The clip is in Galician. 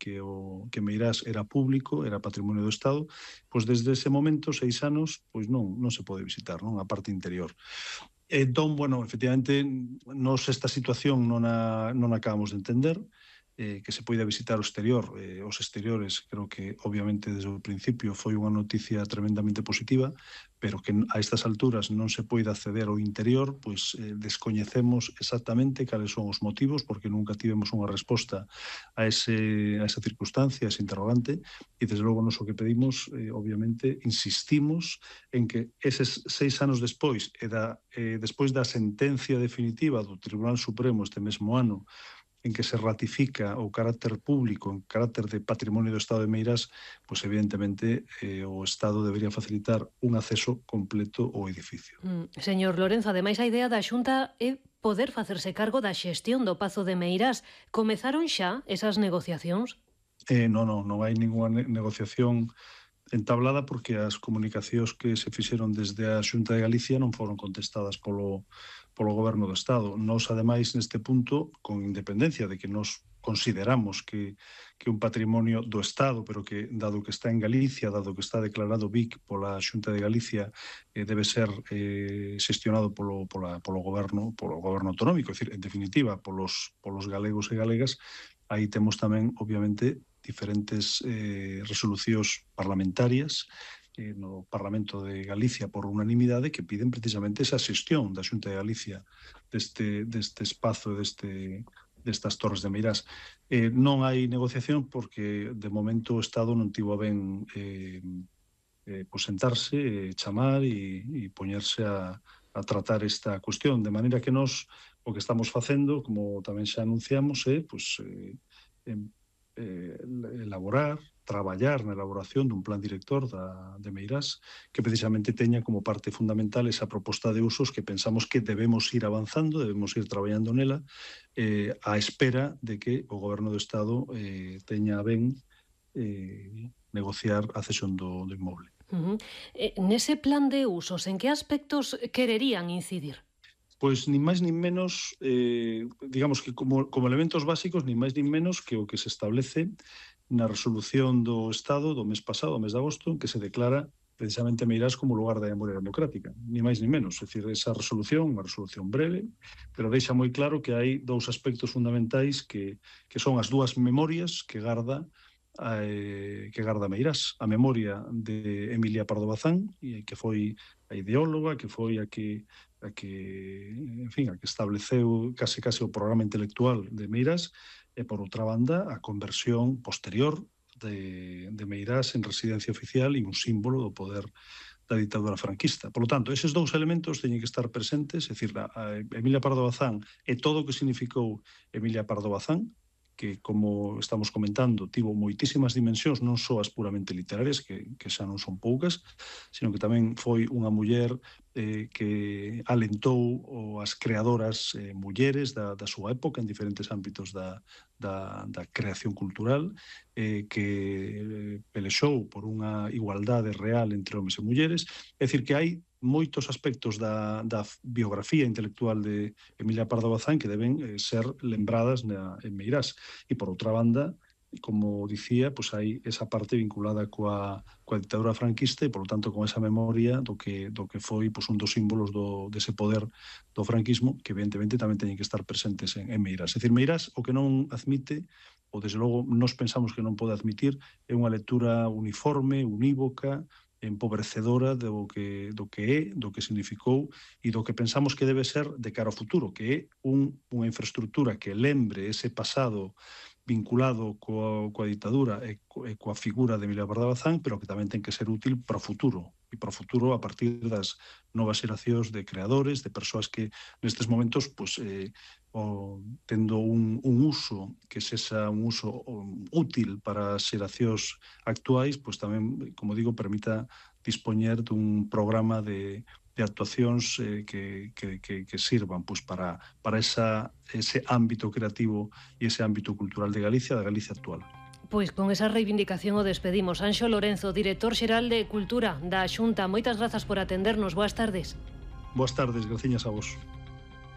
que Meirás era público, era patrimonio do Estado, pois desde ese momento, 6 anos, pois non se pode visitar, non, a parte interior. Entón, bueno, efectivamente, nos esta situación non a acabamos de entender, que se poida visitar o exterior, os exteriores, creo que obviamente desde o principio foi unha noticia tremendamente positiva, pero que a estas alturas non se poida acceder ao interior, pois descoñecemos exactamente cales son os motivos, porque nunca tivemos unha resposta a esa circunstancia, a ese interrogante, e desde logo nos o que pedimos, obviamente, insistimos en que eses 6 anos despois, despois da sentencia definitiva do Tribunal Supremo este mesmo ano, en que se ratifica o carácter público, en carácter de patrimonio do Estado de Meirás, pois evidentemente o Estado debería facilitar un acceso completo ao edificio. Señor Lorenzo, ademais a idea da Xunta é poder facerse cargo da xestión do Pazo de Meirás. Comezaron xa esas negociacións? Non hai ninguna negociación entablada porque as comunicacións que se fixeron desde a Xunta de Galicia non foron contestadas polo Goberno do Estado. Nos, ademais, neste punto, con independencia de que nos consideramos que un patrimonio do Estado, pero que, dado que está en Galicia, dado que está declarado BIC pola Xunta de Galicia, debe ser xestionado polo Goberno autonómico, é dicir, en definitiva, polos galegos e galegas, aí temos tamén, obviamente, diferentes resolucións parlamentarias no Parlamento de Galicia por unanimidade que piden precisamente esa xestión da Xunta de Galicia deste espazo e destas Torres de Meirás. Non hai negociación porque de momento o Estado non tivo a ben sentarse, chamar e poñerse a tratar esta cuestión, de maneira que nós o que estamos facendo, como tamén xa anunciamos, é traballar na elaboración dun plan director de Meirás que precisamente teña como parte fundamental esa proposta de usos que pensamos que debemos ir avanzando, debemos ir traballando nela á espera de que o Goberno do Estado teña a ben negociar a cesión do inmoble. Nese plan de usos, en que aspectos quererían incidir? Pois nin máis nin menos, digamos que como elementos básicos, nin máis nin menos que o que se establece na resolución do Estado do mes pasado, o mes de agosto, en que se declara precisamente Meirás como lugar da memoria democrática, nin máis nin menos. É dicir, esa resolución, unha resolución breve, pero deixa moi claro que hai dous aspectos fundamentais que son as dúas memorias que garda Meirás, a memoria de Emilia Pardo Bazán, que foi a ideóloga, que foi a que estableceu case o programa intelectual de Meirás, e por outra banda a conversión posterior de Meirás en residencia oficial e un símbolo do poder da ditadura franquista. Por lo tanto, eses dous elementos teñen que estar presentes, é dicir, a Emilia Pardo Bazán e todo o que significou Emilia Pardo Bazán, que, como estamos comentando, tivo moitísimas dimensións, non só as puramente literarias, que xa non son poucas, sino que tamén foi unha muller que alentou as creadoras mulleres da súa época en diferentes ámbitos da creación cultural, que pelexou por unha igualdade real entre homes e mulleres. É dicir, que hai moitos aspectos da biografía intelectual de Emilia Pardo Bazán que deben ser lembradas en Meirás. E, por outra banda, como dicía, pois hai esa parte vinculada coa ditadura franquista e, por lo tanto, con esa memoria do que foi pois un dos símbolos dese poder do franquismo que, evidentemente, tamén teñen que estar presentes en Meirás. É dicir, Meirás o que non admite, ou desde logo nos pensamos que non pode admitir, é unha lectura uniforme, unívoca, empobrecedora do que significou e do que pensamos que debe ser de cara ao futuro, que é unha infraestructura que lembre ese pasado vinculado coa ditadura e coa figura de Emilia Pardo Bazán, pero que tamén ten que ser útil para o futuro, e para o futuro a partir das novas xeracións de creadores, de persoas que nestes momentos tendo un uso que sexa un uso útil para as xeracións actuais, pois tamén, como digo, permita dispoñer dun programa de actuacións que sirvan pois para ese ámbito creativo e ese ámbito cultural de Galicia, da Galicia actual. Pois con esa reivindicación o despedimos. Anxo Lorenzo, director xeral de Cultura da Xunta, moitas grazas por atendernos. Boas tardes. Boas tardes, graciñas a vos.